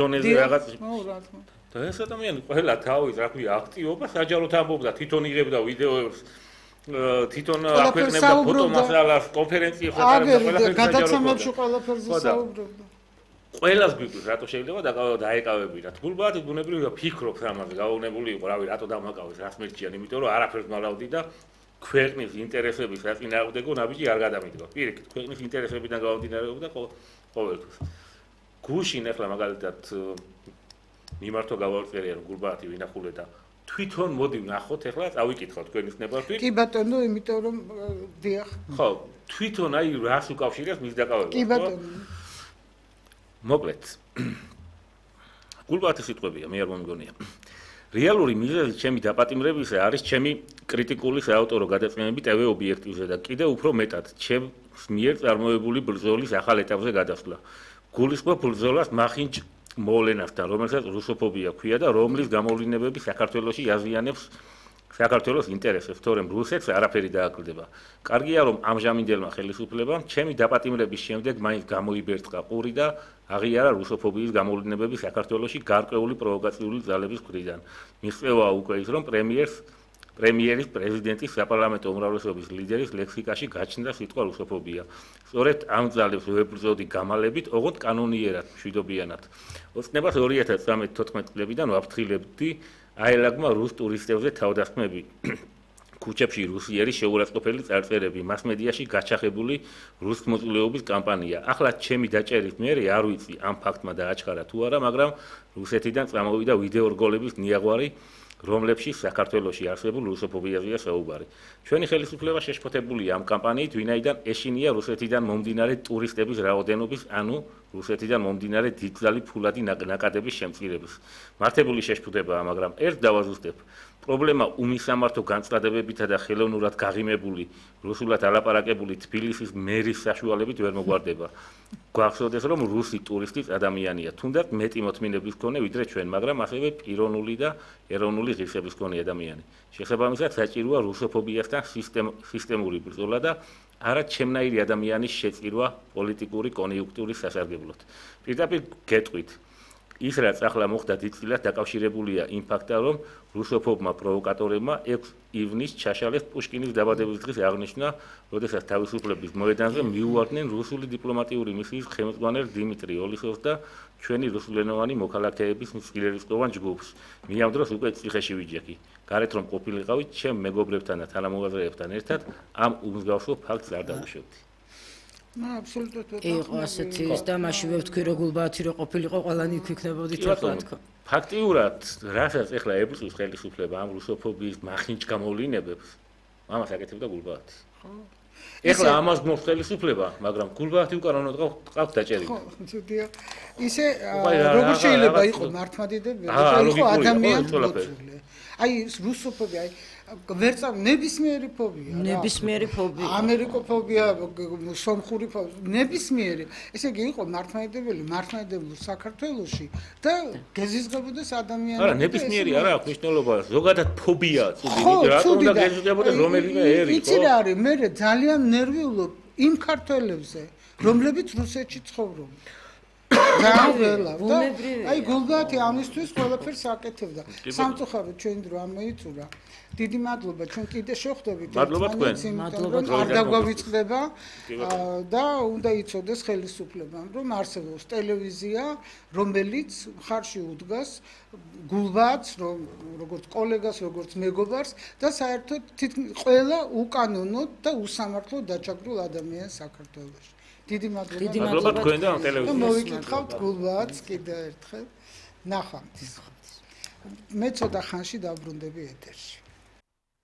თვითონეზე რაღაც და ეს ადამიანი ყველა თავის რა ქვია აქტიობა საჯაროდ ამბობდა თვითონ იღებდა ვიდეოებს თვითონ აქვეყნებდა ფოტომასალას კონფერენციებს ატარებდა ყველაფერს გადაცემებში ყველაფერზე საუბრობდა ყველას გვიკვირს რატო შეიძლება დაეკავებინათ გულბაათი ბუნებრივია ფიქრობს ამაზე გაუნებული იყო რავი რატო დამაკავეს რას მერჩიან იმიტომ რომ არაფერს მალავდი და ქვეყნის ინტერესების საწინააღმდეგო ნაბიჯი არ გადამიდგა პირიქით ქვეყნის ინტერესებიდან გამომდინარეობდა ყოველთვის გუშინ ახლა მაგალითად მიმართო გავარწერია რომ გულბაათი ვინახულე და თვითონ მოდი ვნახოთ ახლა წავიკითხოთ თქვენის ნებართვით კი ბატონო იმიტომ რომ დიახ ხო თვითონ აი რას უკავშირებს მის დაკავებას კი ბატონო მოკლედ გულბაათის სიტყვებია მე არ მომგონია რეალური მიზეზი ჩემი დაპატიმრებისა არის ჩემი კრიტიკული საავტორო გადაწყვეტილება TV ობიექტივზე და კიდევ უფრო მეტად ჩემს მიერ წარმოებული ბრძოლის ახალ ეტაპზე გადასვლა გულისხმობ ბრძოლას მახინჯ მოვლენასთან რომელსაც რუსოფობია ქვია და რომლის გამოვლენებები საქართველოში აზიანებს საქართველოს ინტერესებს თორემ რუსეთს არაფერი დააკლდება კარგია რომ ამჟამინდელმა ხელისუფლებამ ჩემი დაპატიმრების შემდეგ მაინც გამოიბერწყა ყური და აღიარა რუსოფობიის გამოვლენებები საქართველოში გარკვეული პროვოკაციული ძალების მხრიდან მიღწევაა უკვე ის რომ პრემიერის პრეზიდენტის საპარლამენტო უმრავლესობის ლიდერის ლექსიკაში გაჩნდა სიტყვა რუსოფობია სწორედ ამ ძალებს ვებრძოდი გამალებით ოღონდ კანონიერად მშვიდობიანად ოცნებას 2013-14 წლებიდან ვაფრთხილებდი აელაგმა რუს ტურისტებზე თავდასხმები ქუჩებში რუსიერი შეურაცხყოფელი წარწერები მასმედიაში გაჩახებული რუს მოწვეობის კამპანია ახლა ჩემი დაჭერის მერე არ ვიცი ამ ფაქტმა დააჩქარა თუ არა მაგრამ რუსეთიდან წამოვიდა ვიდეო რგოლების ნიაღვარი რომლებშიც საქართველოში არსებულ რუსოფობიაზეა საუბარი. ჩვენი ხელისუფლება შეშფოთებულია ამ კამპანიით, ვინაიდან ეშინია რუსეთიდან მომდინარე ტურისტების რაოდენობის, ანუ რუსეთიდან მომდინარე დიდძალი ფულადი ნაკადების შემწირების. მართებული შეშფოთებაა, მაგრამ ერთ დავაზუსტებ. პრობლემა უმისამართო განწყობებითა და ხელოვნურად გაღიმებული, რუსულად ალაპარაკებული თბილისის მერის საშუალებით ვერ მოგვარდება. გვახსოვდეს, რომ რუსი ტურისტი ადამიანია, თუნდაც მეტი მოთმინების მქონე ვიდრე ჩვენ, მაგრამ ასევე პიროვნული და ეროვნული ღირსების მქონე ადამიანი. შესაბამისად, საჭიროა რუსოფობიასთან სისტემური ბრძოლა და არა ჩემნაირი ადამიანის შეწირვა პოლიტიკური კონიუნქტურის სასარგებლოდ. პირდაპირ გეტყვით ის რაც ახლა მოხდა დიდწილად დაკავშირებულია იმ ფაქტთან, რომ რუსოფობმა პროვოკატორებმა 6 ივნისს ჩაშალეს პუშკინის დაბადების დღის აღნიშვნა, როდესაც თავისუფლების მოედანზე მიუვარდნენ რუსული დიპლომატიური მისიის ხელმძღვანელ დიმიტრი ოლისოვს და ჩვენი რუსულენოვანი მოქალაქეების მცირერისხოვან ჯგუფს. მე ამ დროს უკვე ციხეში ვიჯექი. გარეთ რომ ყოფილიყავით, ჩემ მეგობრებთან და თანამოაზრეებთან ერთად ამ უმსგავსო ფაქტს არ დავუშვებდი. აბსოლუტურად იყო ასეთი ის და მაშინ ვთქვი რომ გულბაათი რო ყოფილიყო ყველანი იქნებოდით ახლა თქო ფაქტიურად რასაც ახლა ებრწვის ხელისუფლება ამ რუსოფობიის მახინჯ გამოვლენებებს ამას აკეთებდა გულბაათი ახლა ამას გმობს ხელისუფლება მაგრამ გულბაათი უკანონოდ ყავს დაჭერილი ხო ძუდია ისე როგორ შეიძლება იყოს მართლმადიდებელი იყო ადამიანი აი რუსოფობია ვერცა ნებისმიერი ფობია ამერიკოფობია სომხური ფობია ნებისმიერი ესე იგი იყო მართლმადიდებელი საქართველოში და გეზიზღებოდეს ადამიანები არა ნებისმიერი არა აქვს მნიშვნელობა ზოგადად ფობია წუდი რატომ უნდა გეზიზღებოდეს რომელიმე ერი ხო იცი რა არის მე ძალიან ნერვიულობ იმ ქართველებზე რომლებიც რუსეთში ცხოვრობენ აი გულბაათი ამისთვის ყველაფერს აკეთებდა სამწუხაროდ ჩვენ დრო ამოიწურა დიდი მადლობა ჩვენ კიდე შევხვდებით არ დაგვავიწყდება და უნდა იცოდეს ხელისუფლებამ რომ არსებობს ტელევიზია რომელიც ხარში უდგას გულბაათს როგორც კოლეგას როგორც მეგობარს და საერთოდ ყველა უკანონოდ და უსამართლოდ დაჭაგრულ ადამიანს საქართველოში დიდი მადლობა თქვენ და ტელევიზიას მოვიკითხავთ გულბაათს კიდევ ერთხელ ნახვამდის მე ცოტა ხანში დავბრუნდები ეთერში